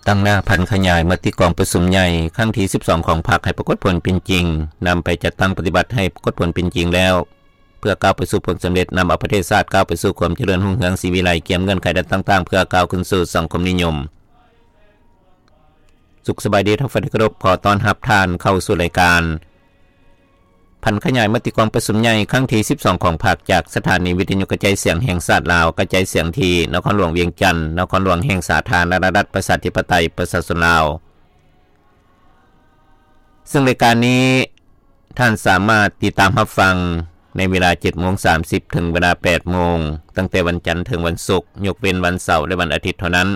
ຕັ້ງໜ້າຜັນຂະຫຍາຍມະຕິກອງປະຊຸມໃຫຍ່ຄັ້ງທີສິບສອງຂອງພັກໃຫ້ປາກົດຜົນເປັນຈິງ, ນຳໄປຈັດຕັ້ງປະຕິບັດໃຫ້ປາກົດຜົນເປັນຈິງແລ້ວ ເພື່ອກ້າວໄປສູ່ຜົນສຳເລັດ, ນຳເອົາປະເທດຊາດກ້າວໄປສູ່ຄວາມຈະເລີນຮຸ່ງເຮືອງສີວິໄລ, ກຽມເງື່ອນໄຂດ້ານຕ່າງໆ ເພື່ອກ້າວຂຶ້ນສູ່ສັງຄົມນິຍົມ. ສຸກສະບາຍດີທ່ານຜູ້ຟັງທີ່ເຄົາລົບ, ຂໍຕ້ອນຮັບທ່ານເຂົ້າສູ່ລາຍການ ຜັນຂະຫຍາຍມະຕິກອງປະຊຸມໃຫຍ່ຄັ້ງທີສິບສອງຂອງພັກ ຈາກສະຖານີວິທະຍຸກະຈາຍສຽງແຫ່ງຊາດລາວ, ກະຈາຍສຽງທີ່ນະຄອນຫຼວງວຽງຈັນ, ນະຄອນຫຼວງແຫ່ງສາທາລະນະລັດປະຊາທິປະໄຕປະຊາຊົນລາວ. ເຊິ່ງລາຍການນີ້ທ່ານສາມາດຕິດຕາມຮັບຟັງໃນເວລາເຈັດໂມງສາມສິບ ເຖິງເວລາແປດໂມງ, ຕັ້ງແຕ່ວັນຈັນເຖິງວັນສຸກ, ຍົກເວັ້ນວັນເສົາ ແລະ ວັນອາທິດເທົ່ານັ້ນ.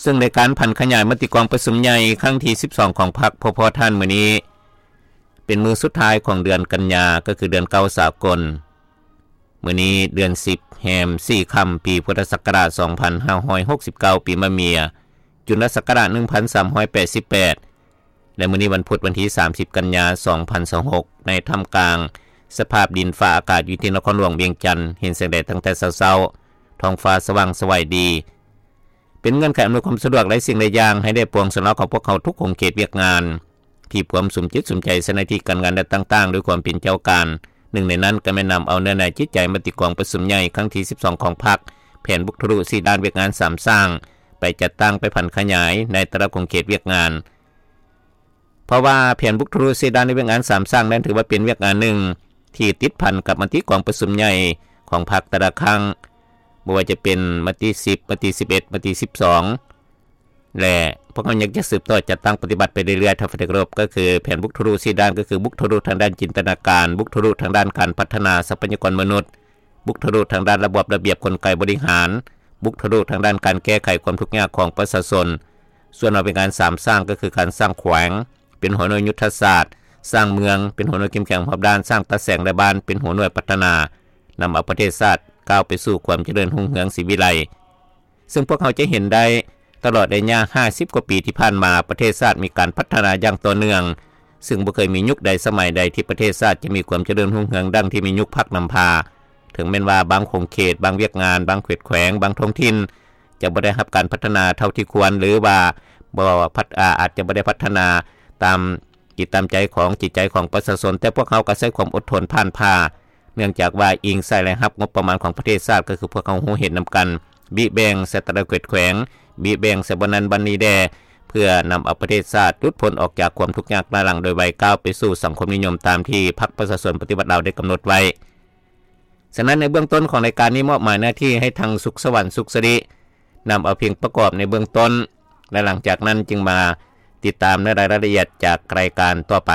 ເຊິ່ງລາຍການຜັນຂະຫຍາຍມະຕິກອງປະຊຸມໃຫຍ່ຄັ້ງທີສິບສອງຂອງພັກ ພໍໆທ່ານມື້ນີ້ ເປັນມື້ສຸດທ້າຍຂອງເດືອນກັນຍາ, ກໍຄືເດືອນເກົ້າສາກົນ. ມື້ນີ້ເດືອນສິບ ແຮມສີ່ຄ່ຳ ປີພຸດທະສັກກະລາດສອງພັນຫ້າຮ້ອຍຫົກສິບເກົ້າ ປີມະເມຍ, ຈຸນລະສັກກະລາດໜຶ່ງພັນສາມຮ້ອຍແປດສິບແປດ ແລະ ມື້ນີ້ວັນພຸດ ວັນທີສາມສິບ ກັນຍາ ສອງພັນຊາວຫົກ ໃນທ່າມກາງສະພາບດິນຟ້າອາກາດຢູ່ທີ່ນະຄອນຫຼວງວຽງຈັນ ເຫັນແສງແດດຕັ້ງແຕ່ເຊົ້າໆ, ທ້ອງຟ້າສະຫວ່າງສະໄຫວດີ, ເປັນເງື່ອນໄຂອຳນວຍຄວາມສະດວກຫຼາຍສິ່ງຫຼາຍຢ່າງໃຫ້ແດ່ປວງຊົນລາວຂອງພວກເຮົາທຸກຂົງເຂດວຽກງານ ທີ່ພວມສຸມຈິດສຸມໃຈໃສ່ໜ້າທີ່ການງານແນວຕ່າງໆ ດ້ວຍຄວາມເປັນເຈົ້າການ. ໜຶ່ງໃນນັ້ນກໍແມ່ນນຳເອົາເນື້ອໃນຈິດໃຈມະຕິກອງປະຊຸມໃຫຍ່ຄັ້ງທີສິບສອງຂອງພັກ, ແຜນບຸກທະລຸສີ່ດ້ານ, ວຽກງານສາມສ້າງ ໄປຈັດຕັ້ງ, ໄປຜັນຂະຫຍາຍໃນແຕ່ລະຂົງເຂດວຽກງານ. ເພາະວ່າແຜນບຸກທະລຸສີ່ດ້ານ ແລະ ວຽກງານສາມສ້າງນັ້ນ ຖືວ່າເປັນວຽກງານໜຶ່ງທີ່ຕິດພັນກັບມະຕິກອງປະຊຸມໃຫຍ່ຂອງພັກແຕ່ລະຄັ້ງ, ບໍ່ວ່າຈະເປັນມະຕິສິບ, ມະຕິສິບເອັດ, ມະຕິສິບສອງ ແລະ ພວກເຮົາຍັງຈະສືບຕໍ່ຈັດຕັ້ງປະຕິບັດໄປເລື້ອຍໆ ທ່ານທີ່ເຄົາລົບ, ກໍຄືແຜນບຸກທະລຸສີ່ດ້ານ, ກໍຄືບຸກທະລຸທາງດ້ານຈິນຕະນາການ, ບຸກທະລຸທາງດ້ານການພັດທະນາຊັບພະຍາກອນມະນຸດ, ບຸກທະລຸທາງດ້ານລະບອບລະບຽບກົນໄກບໍລິຫານ, ບຸກທະລຸທາງດ້ານການແກ້ໄຂຄວາມທຸກຍາກຂອງປະຊາຊົນ. ສ່ວນວ່າເປັນການສາມສ້າງ ກໍຄືການສ້າງແຂວງເປັນຫົວໜ່ວຍຍຸດທະສາດ, ສ້າງເມືອງເປັນຫົວໜ່ວຍເຂັ້ມແຂງຮອບດ້ານ, ສ້າງຕາແສງ ແລະ ບ້ານເປັນຫົວໜ່ວຍພັດທະນາ, ນຳເອົາປະເທດຊາດກ້າວໄປສູ່ຄວາມຈະເລີນຮຸ່ງເຮືອງສີວິໄລ. ເຊິ່ງພວກເຮົາຈະເຫັນໄດ້ ຕະຫຼອດໄລຍະຫ້າສິບກວ່າປີທີ່ຜ່ານມາ, ປະເທດຊາດມີການພັດທະນາຢ່າງຕໍ່ເນື່ອງ, ເຊິ່ງບໍ່ເຄີຍມີຍຸກໃດສະໄໝໃດທີ່ປະເທດຊາດຈະມີຄວາມຈະເລີນຮຸ່ງເຮືອງດັ່ງທີ່ມີຍຸກພັກນຳພາ. ເຖິງແມ່ນວ່າບາງຂົງເຂດ, ບາງວຽກງານ, ບາງເຂດແຂວງ, ບາງທ້ອງຖິ່ນ ຈະບໍ່ໄດ້ຮັບການພັດທະນາເທົ່າທີ່ຄວນ ຫຼືວ່າບໍ່ພັດ ອາ ອາດຈະບໍ່ໄດ້ພັດທະນາຕາມຈິດຕາມໃຈຂອງຈິດໃຈຂອງປະຊາຊົນ, ແຕ່ພວກເຮົາກໍໃຊ້ຄວາມອົດທົນຜ່ານຜ່າ ເນື່ອງຈາກວ່າອີງໃສ່ລາຍຮັບງົບປະມານຂອງປະເທດຊາດ, ກໍຄືພວກເຮົາຮູ້ເຫັນນຳກັນ, ບິແບ່ງໃສ່ແຕ່ລະເຂດແຂວງ, ບິແບ່ງໃສ່ບ່ອນນັ້ນບ່ອນນີ້ແດ່, ເພື່ອນຳເອົາປະເທດຊາດຫຼຸດພົ້ນອອກຈາກຄວາມທຸກຍາກລ້າຫຼັງໂດຍໄວ, ກ້າວໄປສູ່ສັງຄົມນິຍົມຕາມທີ່ພັກປະຊາຊົນປະຕິວັດລາວໄດ້ກຳນົດໄວ້. ສະນັ້ນ ໃນເບື້ອງຕົ້ນຂອງລາຍການນີ້ ມອບໝາຍໜ້າທີ່ໃຫ້ທາງ ສຸກສະຫວັນ ສຸກສະລິ ນຳເອົາເພງປະກອບໃນເບື້ອງຕົ້ນ ແລະ ຫຼັງຈາກນັ້ນຈຶ່ງມາຕິດຕາມໃນລາຍລະອຽດຈາກລາຍການຕໍ່ໄປ.